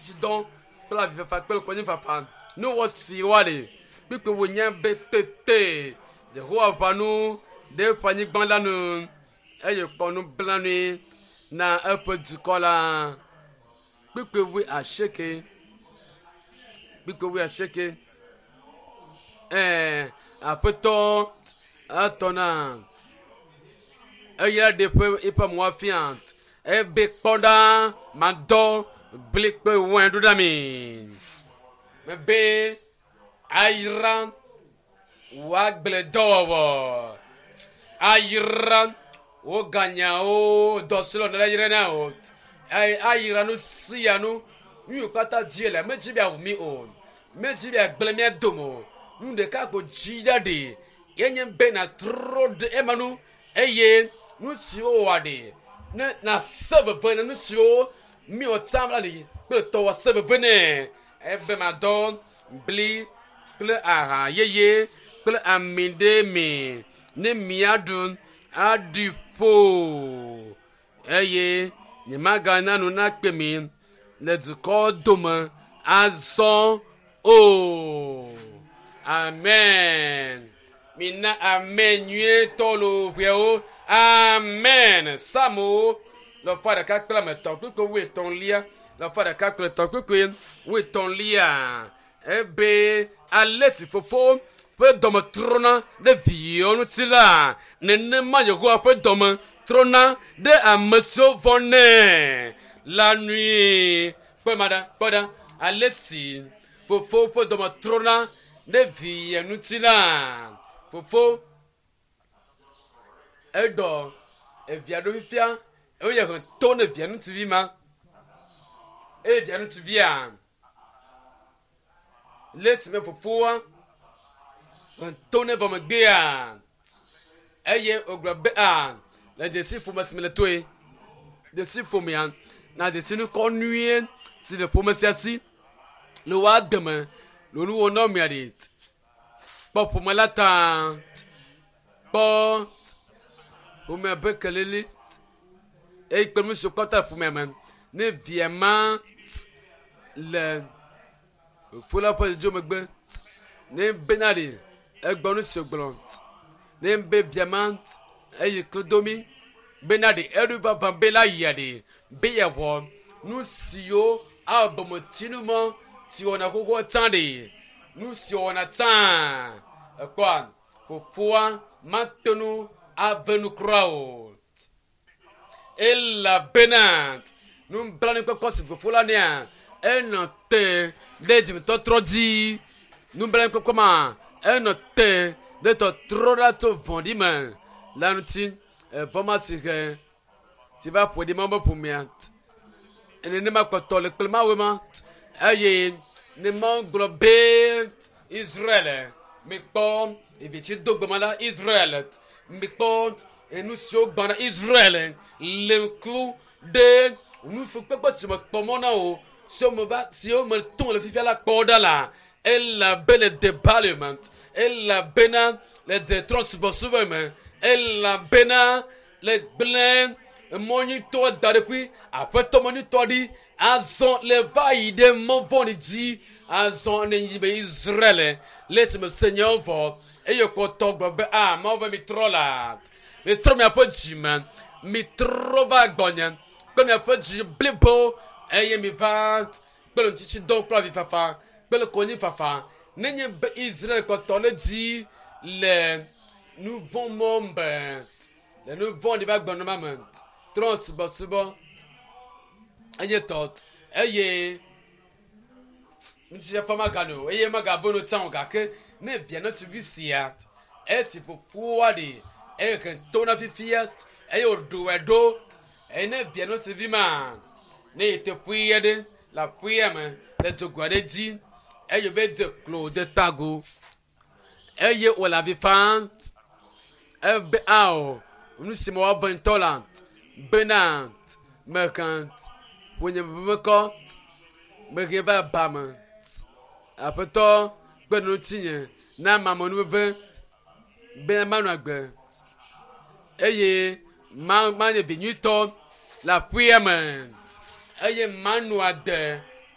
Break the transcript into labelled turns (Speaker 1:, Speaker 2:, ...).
Speaker 1: Ŋutitsidɔ kple avifafa kple konyifafa. Nuwɔ si woaɖe kpukpui wònye be tete Yehowa ʋã nu ɖe eƒe anyigba la nu eye kpɔ nublanui na eƒe dukɔ la. Kpukpui wuiasieke. Kpukpui wuiasieke. Ɛɛ aƒetɔ etɔ na eya ɖe eƒe eƒe amewo afia ebe kpɔ ɖa madɔ bli kple wain ɖo ɖa mi. Mebe ayra wò agbledɔwɔwɔ ayra wò ganyawo dɔ si le nɔlɛ yra na o ayra nu sia nu nu yiwo katã dzi le medzi be awu mi o medzi be agblẽ mía dome o nu ɖeka ko dzi ɖa ɖi yenye be nàtrɔ ɖe ema nu eye nu siwo wɔ ɖi ne nàse veve na nu siwo miwɔ tsã la ɖi kple tɔwɔ se veve nɛ ebe madɔ bli kple aha yeye kple ami ɖe mi ne miaɖu aɖi ƒo eye nyemagana nu nakpe mi le dukɔ dome azɔ o. Amen. Mina amen nyuietɔ lo ʋewo. Amen. Samowo lɔfa ɖeka kple ame etɔ̃ kpukpui wuietɔ̃lia lɔfa ɖeka kple etɔ̃ kpukpui wuietɔ̃lia ebe ale si fofo ƒe dɔme trɔna ɖe viwo ŋuti la nenema Yehowa ƒe dɔme trɔna ɖe ame siwo vɔ̃nɛ la nui. Kpɔ ma ɖa, kpɔ ɖa ale si fofo ƒe dɔme trɔna ɖe via ŋuti la fofo eɖɔ evia ɖo fifia eye he to ne via ŋutsuvi ma eye via ŋutsuvia le esime fofoa he to ne vɔ megbea eye wògblɔ be a le dzesi ƒome si me le toe dzesi ƒomea na dzesi nukɔ nyuie si le ƒome sia si le woa deme le nuwɔ na mia ɖi kpɔ ƒome la ta kpɔ ƒomea be kelili eye kpe nu siwo kpata le ƒomea me ne via ma le fofo la ƒe dzidzo megbe ne bena ɖi egbɔ nu si wògblɔ ne be via ma eyi klodomi bena ɖi eɖo vavã be la yia ɖi be yeawɔ nu siwo awɔ bometsinu mɔ si wɔna xoxoa tsã ɖi nu si wɔna tsã ekpɔa fofoa mate ŋu ave nu kura o elabena nublanuikpɔkpɔ si fofo la nea enɔ te ɖe dzimetɔtrɔ dzi nublanuikpɔkpɔ ma enɔ te ɖe tɔtrɔ ɖa tso vɔ̃ɖi me la ŋuti evɔ ma si he si va ƒo ɖi ma be ƒomea nenema kpɔtɔ le kple mawu ma eye ne mawu gblɔ be Israel mikpɔ evitsi do gbema la Israel mikpɔ enu siwo gbɔna Israel le ŋku ɖe nufukpekpe si mekpɔ mɔ na o siwo me va siwo me tom le fifia la kpɔ ɖa la elabe le debali me elabena le detrɔsubɔsubɔ me elabena le gblẽ mɔ nyuitɔ da ɖe ƒui aƒetɔ mɔ nyuitɔ ɖi azɔ le va yi ɖe mɔ vɔ̃ɖi dzi azɔ ne yi be Israel le esime se nyawo vɔ eye kpɔtɔ gblɔ be a Mawu be mitrɔ la mitrɔ miaƒe dzi me mitrɔ va gbɔnye kple miaƒe dzi blibo eye miva kple ŋutitsidɔ kple avifafa kple konyifafa nenye be Israel kpɔtɔ ɖe dzi le nu vɔ̃ mɔ me le nu vɔ̃ɖi va gbɔnɔ me trɔ subɔsubɔ enye tɔ eye ŋutifafa magano o eye magavo no tsã o gake ne via ŋutsuvi sia esi fofoa ɖi eye he to na fifia eye wòɖo ɖo eye ne via ŋutsuvi ma ne yi te ƒui aɖe le aƒea me le dzogoe aɖe dzi eye wòve dze klo de tago eye wòle avi fam ebe ao nu si me woave ŋutɔ la bena mehẽ ƒonye mekɔ mehe va ba me aƒetɔ kpe ɖe ŋutinye na mamenuveve be manɔ agbe eye ma manye vi nyuitɔ le aƒea me eye manɔ agbe.